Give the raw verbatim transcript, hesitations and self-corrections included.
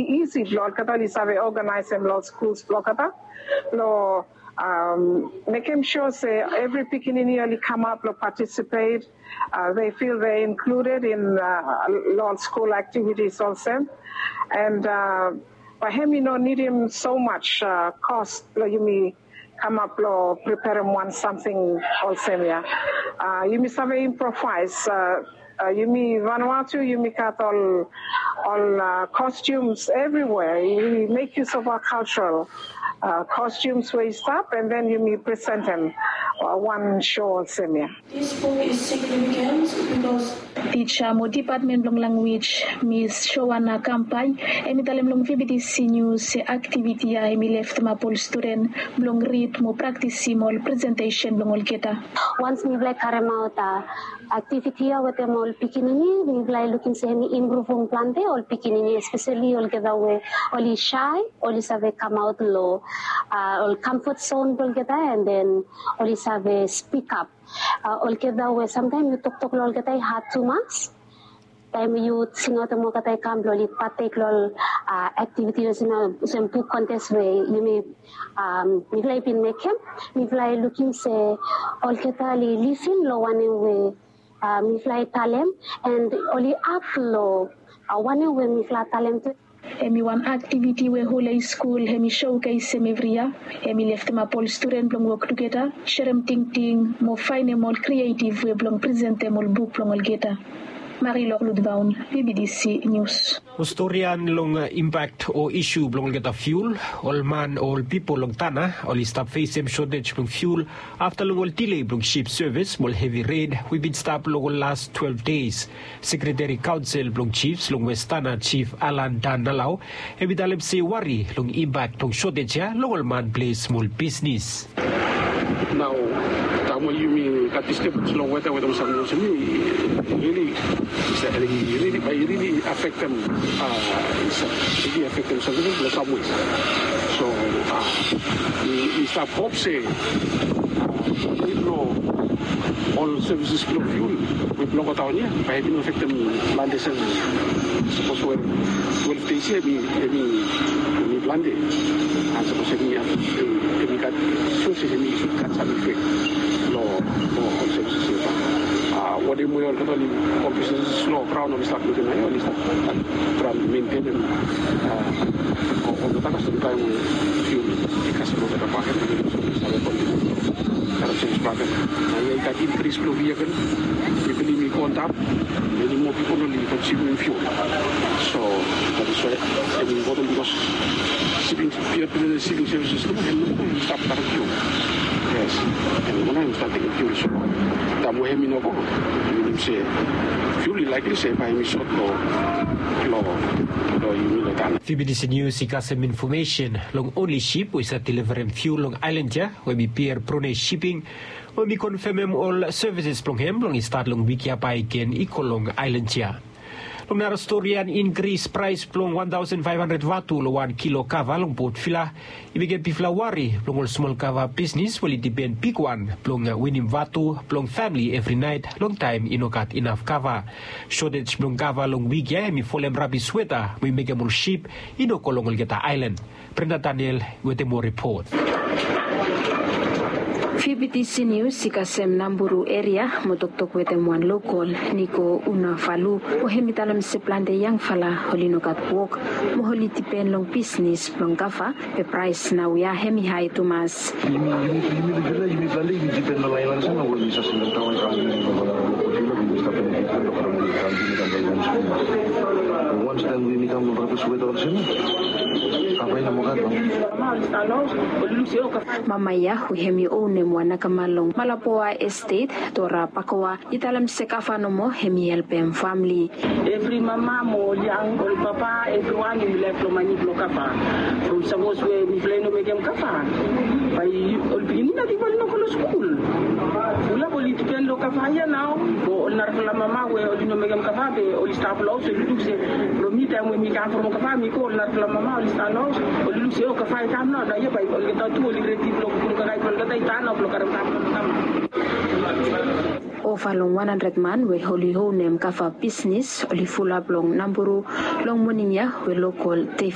isi blong olgeta oli save organisim long skuls blong olgeta long mekim sure se evri pikinini oli kamap long participate. They feel they included in long school activities olsem. And bahem i no nidim so much cost long yumi kamap long preparim wan samting olsem ya. Yumi save improvise. Yumi Vanuatu yumi gat ol ol costumes everywhere. We make use of our cultural costumes we i stap and then yumi presentem wan show olsem ya. This book is significant because Tija mo dipatmen blong lanwis, Mis Joana Kampain, hem i talem long V B T C News se aktiviti ya hem i leftemap ol studen blong rid mo praktisim ol presentesen blong olgeta. Once mifala i karemaot aktiviti ya wetem ol pikinini, mifala i lukim se hem i impruvum plante ol pikinini, espeseli olgeta we oli shy, oli save kamaot long ol comfort zone blong olgeta, and then oli save speak up. Olgeta we samtaem yu toktok long olgeta i had tumas. Taem yu singaotem olgeta i kam blong oli patek long ol aktiviti olsem buk kontes we yumi mifala i bin mekem, mifala i lukim se olgeta oli lisin long wanem we mifala i talem, and oli akt long wanem we mifala talem tu. Hem i wan aktiviti we Holy Skul hem i showcasem evri yia. Hem i leftemap ol studen blong wok tugeta, serem tingting mo faenem ol krietiv we blong presentem ol buk blong olgeta. Marilok Ludvaun, V B T C News. Ol stori ya long impak o isu blong olgeta fiul. Ol man o ol pipol long Tanna oli stap fesem sotej blong fiul afta long ol dile blong sip sevis mo ol hevi ren we i bin stap long ol las twelve days. Sekreteri kaonsel blong jifs long West Tanna, Jif Alan Dan Nalau, hem i talem se wari long impak blong sotej ya long ol man ples mo ol bisnis. Nao taem we yumi gat disturbens long weta, weta mo samting olsem ya i rili, i rili, bae i rili afektem, i rili afektem samting long sam wei. So mi stap hop se nid blong ol sevises blong fiul we blong godaon ya bae i no afektem plante sevises. Sapos we twelve days ya hem i, hem i plante, and sapos hem i, hem i gat, sure se hem i sud gat sam ifek long ol sevises ya. Wanem we olgeta oli, ol bisnis long graon oli stap lukim nao ya, oli stap traem mentenem olgeta kasem taem we fiul i kasem olgeta bakegen, oli save kontinua karem sevis bakegen. Nao ya i gat inkris blong vehicle, pipol i go antap, many more pipol oli konsumim fiul. So that is why hem i impoten bikos siping, pia pia siping sevises tu hem i stap karem fiul. Yes, hem i go nao hem i stap tekem fiul. So taem we hem i no go, minim se fiul i laekli se bae hem i sot long, long, long yumi long taon. V B T C News i kasem infomesen long onli sip we i save deliverem fiul long aelan ya, we hem i Pierre Prone Shipping, we hem i konfemem ol sevises blong hem blong i stat long wik ya bae i ken i go long aelan ya. Long nara stori ya, inkris praes blong wan taosen faef handred vatu long wan kilo kava long Port Vila i mekem bigfala wari blong ol smol kava bisnis we oli dipen bigwan blong winim vatu blong famili evri naet long taem i no gat inaf kava. Sotej blong kava long wik ya hem i folem rabis weta we i mekem ol sip i no go long olgeta aelan. Brenda Daniel wetem moa ripot. V B T C News i kasem Namburu eria mo toktok wetem wan lokol, Niko Unavalu, we hem i talem se plante yangfala oli no gat wok mo oli dipen long bisnis blong kava, be praes naoia hem i hae tumas. Yumi, yumi, yumi, yumi plante yumi dipen long laen olsem we yumi save sendem daon i kam long Namburu, yumi stap long Namburu, yumi kam long rabis weta olsem ya. Mama ya we hem i onem wan akama long Malapoa Estate, Dora Pakoa, i talem se kava nomo hem i helpem famili. Evri mama mo ol yang, ol papa, evriwan yumi laek long mane blong kava. From sapos we mifala i no mekem kava, bae ol pikinini nating bae oli no go long skul. Fulap oli dipen long kava ya nao. Mo ol narafala mama we oli no mekem kava be oli stap long haos, oli luk se from mi taem we mi kam from kava mi go, ol narafala mama oli stap long haos, oli luk se o kava i kam nao, nao ya bae olgeta tu oli redi blong putum kakae blong olgeta i tan nao blong karem kava blong kam. Ova long wan handred man we oli onem kava bisnis oli fulap long Namburu long moning ya we lokol dei